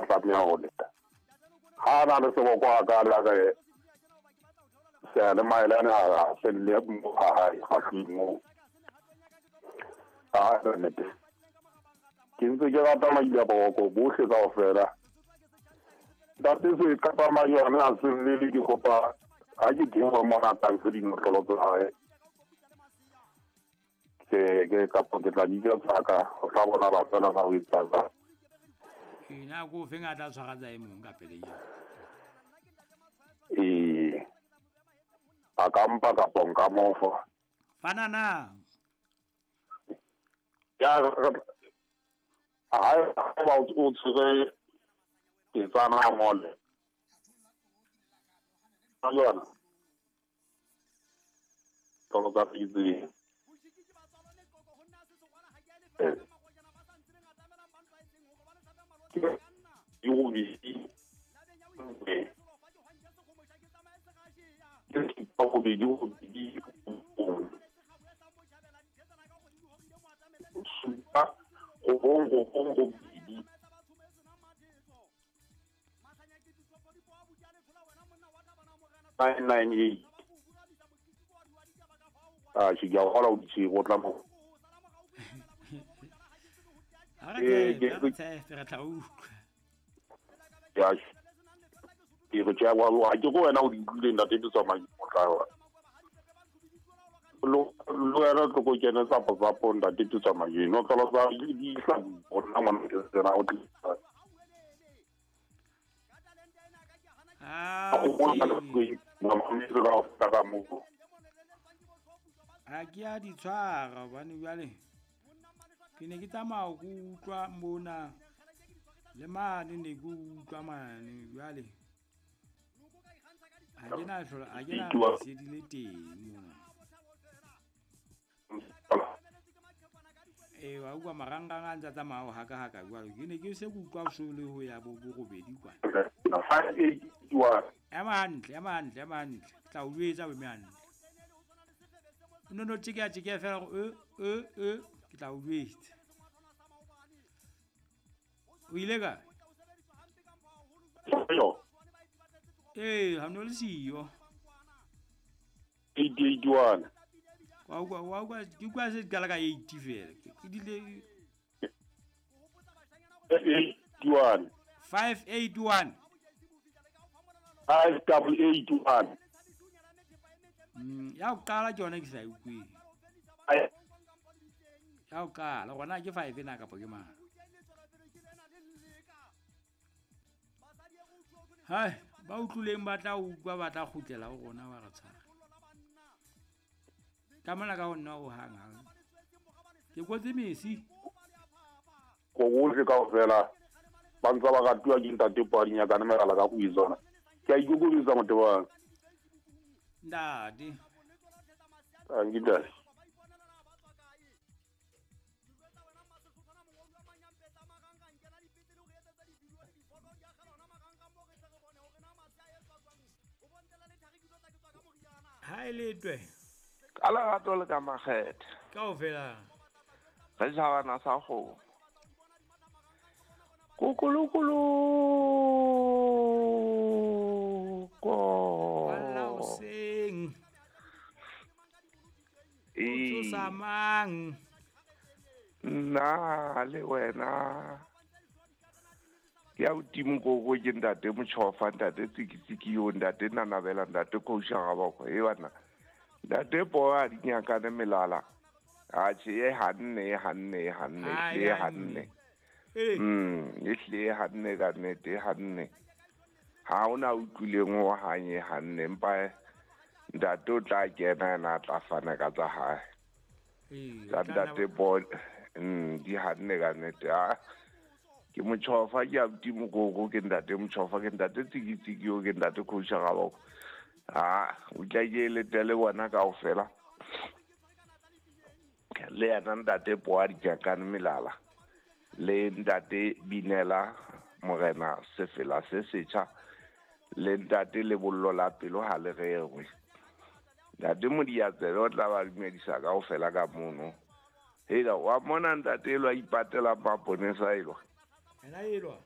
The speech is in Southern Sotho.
tla tlameha ho leta. Ha a na le seboko a ka la re seyalemaelane ha a felle mo ha hae ga moo. A nnete. Ke ntse ke rata maila boroko bohle kaofela. Ntate se kapa majone a se llele ke kopa ha ke teng ho mona tang se dinotlolo tsa hae. Ke ke kapa ke tla di tsaka ho tla bona ba fela ba ho etsa jwang. Ee, na ko feng a tla tshwara tsa e mong ka pele eo? Ee. A ka mpa kapa nka mo fa. Fana na. Ya ha ba o tshwere petsana a ngole. Ka yona. Tolo tsa itseng. Ke robedi nne. Ke supa robedi robedi robong. Supa robong robong robedi. 998. Ah, ke a kgolwa o di tshwere o tla mo. Ha re tshepe, re tshepe, re tla utlwa. Ya ke re tjhe wa ke go wena o di utlwile ntate ke tsamaya o tla wa. Lo lo wena tlo go kene tsapo tsapo ntate ke tsamaya no tlo tsa di tla go nna ngwana ke tsena o tlisa. Ah, ha ke a di tshwara hobane jwale ke ne ke tsamaya ke utlwa mona le mane ne ke utlwa mane jwale ha ke na hlola ha ke na lesedi le teng mona. Ee, wa utlwa marangrang a ntse a tsamaya o haka haka jwalo. Ke ne ke se ke utlwa so le ho ya bo borobedi kwana. Ema hantle, ema hantle, ema hantle. Ke tla o jwetsa o eme hantle. O no no tjekeya tjekeya fela hore e e e ke tla o jwetsa. O ile kae? Ee, ha no le siyo. 881. Wa utlwa wa utlwa ke utlwa se qala ka 80 fela. Ke dile 81. 581. 5881. Ya ho qala ke yona ke sa e utlweng. Ya ho qala gona ke 5 na kapa ke mang? Hai, ba utlwileng ba tla utlwa ba tla kgutlela ho rona ba re tshwara. Ka mona ka ho nna o hang hang. Ke kotse mesi. Go bohle kaofela ba ntse ba ratuwa ke ntate Padi Nyakane Megala ka go itsona. Ke a ikokobetsa motebang. Ntate. Tanki ntate. Ha e letwe. Ka lerato le ka makgethe. Kaofela. Re tjhabana sa kgomo. Kukulukulu ko. Walla hoseng. O tsosa mang? Nna le wena. Ke a hodimo koko ke ntate Motjhofa, ntate Tsikitsiki yo, ntate Nanabela, ntate Kousha Gaboko. E bana. Ntate Poa a di nyakane melala. Atjhe e hanne, e hanne, e hanne, e hlile e hanne. E hlile e hanne ka nnete, e hanne. Ha hona utlwileng ho hang e hanne, empa ntate o tla kena yena a tla fana ka tsa hae. Tsa ntate Poa, di hanne ka nnete. Ah. Ke Motjhofa, ke abuti Mokoko, ke ntate Motjhofa, ke ntate Tsikitsiki yo, ke ntate Kousha Gaboko. Ah, o tla ke letele bona kaofela. Le yena ntate Poa Dinyakane Melala. Le ntate Binela Morena Sefela se setjha. Le ntate Lebollo la pelo ha le rerwe. Ntate Modiatsebe o tla ba dumedisa kaofela ka mono. Hela wa mona ntate elwa ipatela maponesa elwa. Ena elwa.